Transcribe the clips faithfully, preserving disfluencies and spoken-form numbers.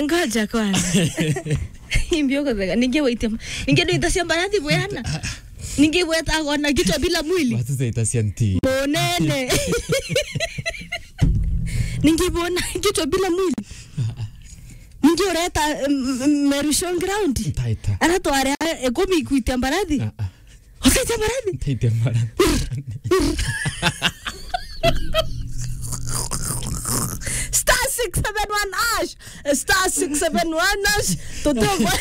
Ngoja kwanza. Imbio kuthega. Ninge waitia. Ninge ndio itasia mbarathi bwana. Ninge weta gona kichwa bila mwili. Watu zaita cia nti. Monene. Ninge bona kichwa bila mwili. Ninge ureta, mm, mm, Meru Showground. Ntaita. Ara tware, eh, ikumi kuitia mbarathi. Ah, ah. Ukaita mbarathi? Ntaita mbarathi. Star six seven one hash. Star six seven one hash. Totogwa.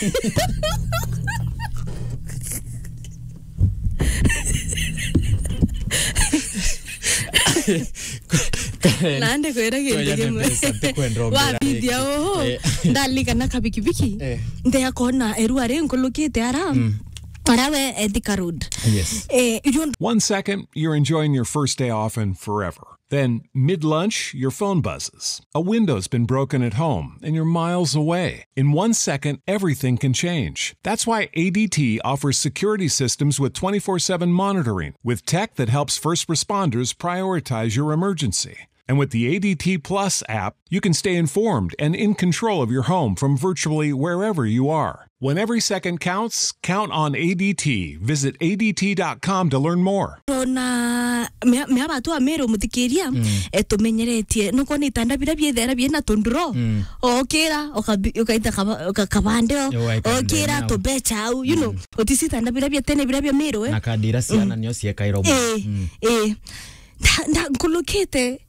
Nandi kwira gintu kimwe. Wabithia uhu. Eh. Ndalika na kabikibiki. Eh. Ndeya kona erua ri nkulukite ara. Mm. Ara we Ethika Road. Yes. Eh, you don't. One second, you're enjoying your first day off and forever. Then, mid lunch, your phone buzzes. A window's been broken at home, and you're miles away. In one second, everything can change. That's why A D T offers security systems with twenty-four seven monitoring, with tech that helps first responders prioritize your emergency. And with the A D T Plus app, you can stay informed and in control of your home from virtually wherever you are. When every second counts, count on A D T. Visit A D T dot com to learn more. Tona mea, mea batu a Meru muthikiria, mm, eh, tumenyeretie. Nukwona itanda biria biethera biena tunduro. Mm. Okira, ukabi-, ukaita kaba-, uka-, kabande o. Yo, waikande okira, nao. Tubecha au, you know. Mm. Utisi itanda biria bia tene biria bia Meru, eh. Na kandira ciana, mm, nio ciekaira umwe. Eh, mm, eh. Nda, nda, nkulukite.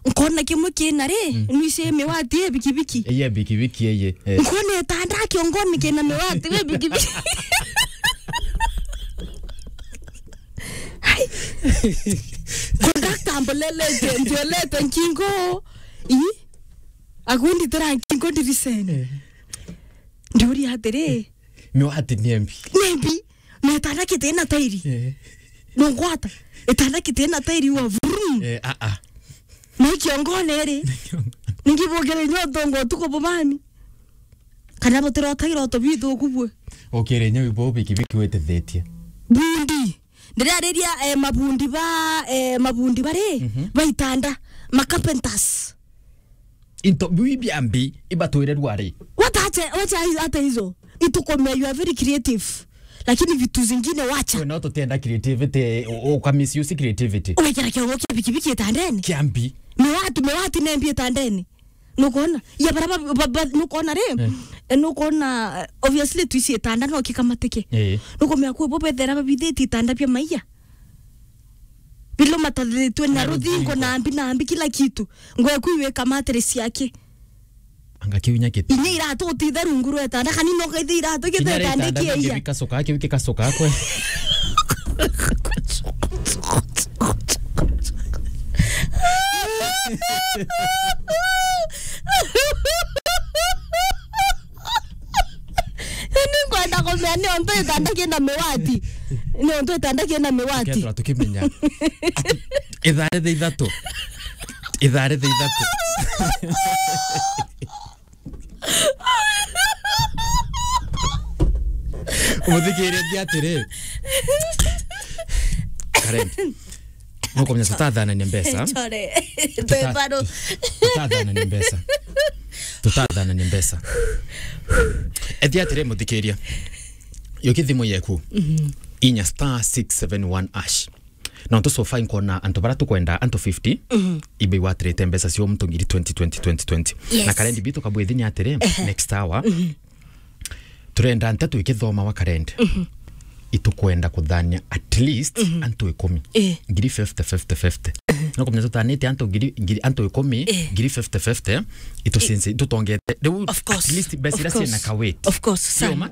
Nkona kimwe kina ri, mm, nwici miwati e bikibiki. Eye bikibiki eye, eh. Nkona itanda kiongoni kina miwati e bikibiki. Ai. Kondakta ambolelete, mbolelete nkingo. Ii? Agundi tira nkingo ndirisene. Eh. Ndiuria atiri. Miwati ni embi. Ni embi. Na itanda kitina tairi. Eh. Nungwata. Itanda kitina tairi wa vrum. Eh, ah, ah. Na ikiongone ri. Ningi bukire nyo tongo tuko bubani. Kana butira utaira uto bithuku bwe. Ukire nyo ibo bikibiki wetithetie. Bundi. Ndirariria, eh, mabundi ba, eh, mabundi bari, mhm, ba itanda. Ma carpenters. Into biu biambi ibatwire rwari. Wacha, wacha hata hizo. Itukomea, you are very creative. Lakini vitu zingine wacha. We no tutienda creativity, u-, uka misuse creativity. Wekera kiongo kia bikibiki itandeni. Kiambi. Miwati, miwati nembi itandeni. Nukona? Ya bara ba, ba, ba, nukona ri? Eh. Eh, nukona, eh, obviously tuici itanda no kikamatike. Eh. Nukumea kwi bo bethera babithiti itanda bia maiya. Bilo matathitwe na, na ruthingo, ruthingo, na mbi, na mbi, kila kitu. Ngwe kwi wika mattress yake. Anga kiu inya kiti. Inya iratu utithe rungu rwa itanda, kani no kaithe iratu. Kinya kithe itanda itanda kia iya. Bikacoka, kiu gikacoka kwe. Ni ngwenda kumenya ni ontu itanda kina miwati. Ni ontu itanda kina miwati. Kethira tukimenya. Ati, ithaa rithe ithatu. Ithaa rithe ithatu. Umuthikiriria atiri. Karen. Nukumenya tutathanania mbeca. Chore. Tuta-, bado. Tutathanania mbeca. Tutathanania mbeca. Ethia atiri muthikiria. Yo kithimu yeku. Mhm. Inya star six seven one hash. Na ntu so far nkona antu bara tukwenda, antu fifty, mhm, ibe iwatirite mbeca cio muntu ngiri twenty, twenty, twenty, twenty. Yes. Na karendi bitu kabwithinya atiri, ehe, next hour, mhm, turenda nteto ikithoma wa karendi. Mhm. Itukwenda kuthania at least, mhm, antu ikumi. Eh. Ngiri fifty, fifty, fifty. Mhm. No kumenya tutanite antu ngiri, ngiri, antu ikumi, eh, ngiri fifty, fifty, itucinci, itutongete. Riu of course, at least mbeca iria ciina ka weight. Of course, sana. Cioma?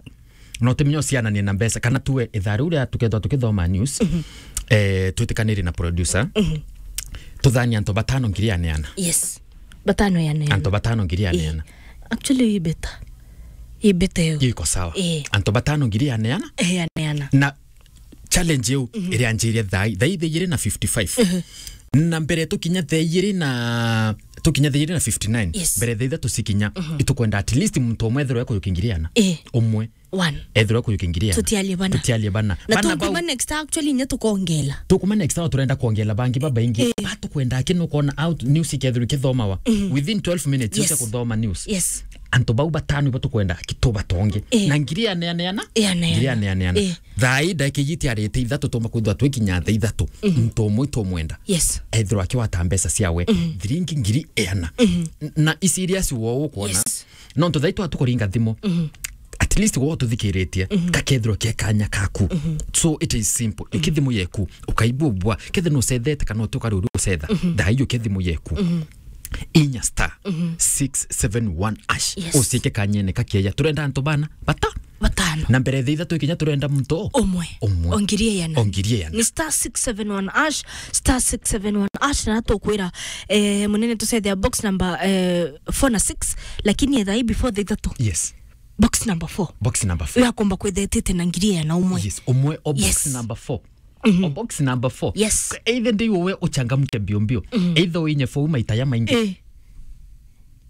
No tumenye uciananie na mbeca, kana tuwe ithaa riu ria tukethwa tukithoma news, mhm, eh, twitikaniri na producer, mhm, tuthanie antu batano ngiri ya neana. Yes. Batano ya neana. Antu batano ngiri ya neana. Eh. Actually, i better. I better yo. Iko sawa. Eh. Antu batano ngiri ya neana. Eh, ya neana. Na challenge iu, mhm, irianjirie thaa, thaa ithaa igiri na fifty-five. Mhm. Na mbere tukinya thaa igiri na, tukinya thaa igiri na fifty-nine. Yes. Mbere thaa ithatu cikinya, mhm, itukwenda at least muntu umwe ethirwe ekuyukingiriana. Eh. Umwe. One. Ethirwa kuyukia ngiri ana. Tutialie bana. Tutialie bana. Na bana tukuma bau next actually inya tukongela. Tukuma next hour turenda kwongela bangi babaingi. Eh. Batukwenda aki nukona out news ikethirwa ikithomawa. Mm. Within twelve minutes, yes, ucia kuthoma news. Yes. Antu bau batano ibo tukwenda aki tubatonge. Eh. Na ngiri aneaneana? Eh, aneana. Ngiri aneaneana. Eh. Thaa ii ndagika iji itiarite ithatu tumba kwithirwa twikinya thaa ithatu. Mhm. Muntu umwe itumwenda. Yes. Ethirwa akiwata mbeca ciawe. Mhm. Thiringi ngiri iana. Mhm. N-, na i serious wo ukwona. Yes. Nontu thaa ii twa tukuringa thimu. Mhm. At least wo tuthikiritie. Mhm. Kakethirwa ke kanya kaku. Mhm. So it is simple. Mhm. Uki thimu yeku, ukaigua bwa. Kethe nucethete kana uti ukari uri ucetha. Mhm. Thaa ii uki thimu yeku. Mhm. Inya star, mhm, six seven one hash. Yes. Uciike kanyene kakieya. Turenda antu bana bata? Batano. Na mbere thaa ithatu ikinya turenda muntu umwe. Umwe. O ngiri iana. O ngiri iana. Ni star six seven one hash, star six seven one hash, na tukwira, eh, munene tucethea box number, eh, four na six, lakini etha i before thaa ithatu. Yes. Box number four. Box number four. Uyu akomba kwithetete na ngiri iana umwe. Yes, umwe o box, yes, number four. Mhm. O box number four. Yes. Either ndi we uchangamke mbio mbio. Mhm. Either uinye four maita ya maingi. Eh.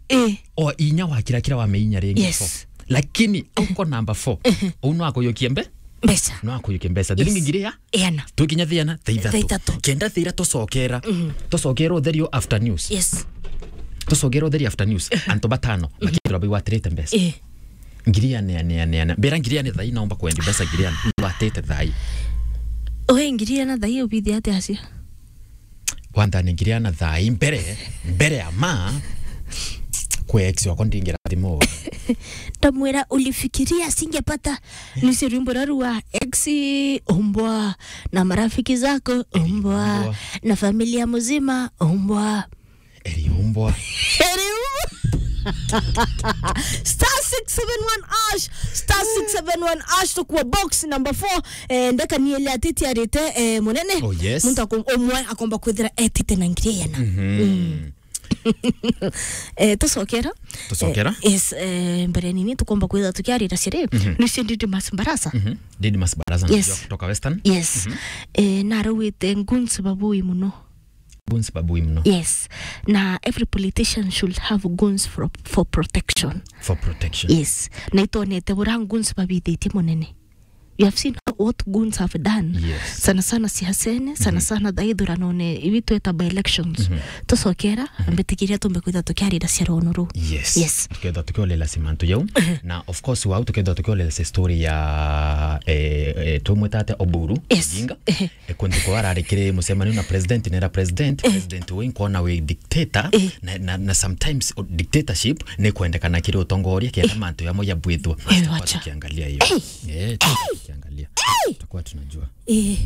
Eh. O inya wa kira kira wa meinya ringi, yes, four. Lakini uko number four. Mhm. Uu no akuyukie mbe? Mbeca. No akuyukie mbeca. Yes. Thiringi ngiri ya? Iana. Twikinya thiana, thaa ithatu. Thaa ithatu. Kenda thira tucokera. Mhm. Tucokera utherio after news. Yes. Tucokera utherio after news. Mhm. Antu batano, mhm, bakithirwa baiwatirite mbeca. Eh. Ngiri iana, iana, iana, iana. Mbira ngiri iana thaa ii naomba kwendi mbeca ngiri iana. Watite thaa ii. Oe ngiri iana thaa ii ubithia atia acio? Kwanza ni ngiri iana thaa ii mbere, mbere ya ma, kwe ex wakwa ndingira thimu. Ndamwira, "Ulifikiria singepata?" Nicio rwimbo rwa rua ex, umbwa, na marafiki zako, umbwa, umbwa, na familia mzima, umbwa. Eriumbwa. Eriumbwa. Star six seven one hash, star six seven one hash, tukuwa box number four. Eh, ndeka ni ile atiti arite, eh, munene. Oh, yes. Muntu akom-, umwe akomba kwithira etite na ngiri iana. Mhm. Mm. Eh, tucokera. Tucokera. Eh, yes, eh, mbere nini tukomba kwithira tukiarira ciri. Mhm. Nicio Didmus Barasa. Mhm. Didmus Barasa, yes, najua kutoka Western. Yes. Mhm. Eh, narauite goons babui muno. Goons babui muno. Yes. Na every politician should have goons for, for protection. For protection. Yes. Na itonete bura goons babithitie munene. You have seen what goons have done. Yes. Sana sana siasene, sana, mhm, sana thaa ithuranone, ibi tweta by elections. Mhm. Tucokera, mhm, mbitikiria tumbe kwitha tukiarira cia rono ru. Yes. Yes. Tuketha tukiolela cimantu jau. Mhm. Na of course, wau tuketha tukiolela cia story ya, eh, eh, tumwita atia Oburu, yes, Odinga. Ehe. E, kuntu kwa arari kiri mucemanio na president, nera president, eh, president we nkona wi dictator, eh, na, na, na sometimes, o, dictatorship ni kwendekana kiri utongoria kenda, eh, mantu yamo yabwithwa. Eh, tutakuwa wacha. Tukiangalia hiyo. Eh. Eh, tutakuwa tukiangalia. Eh. Tutakuwa tunajua. Eh.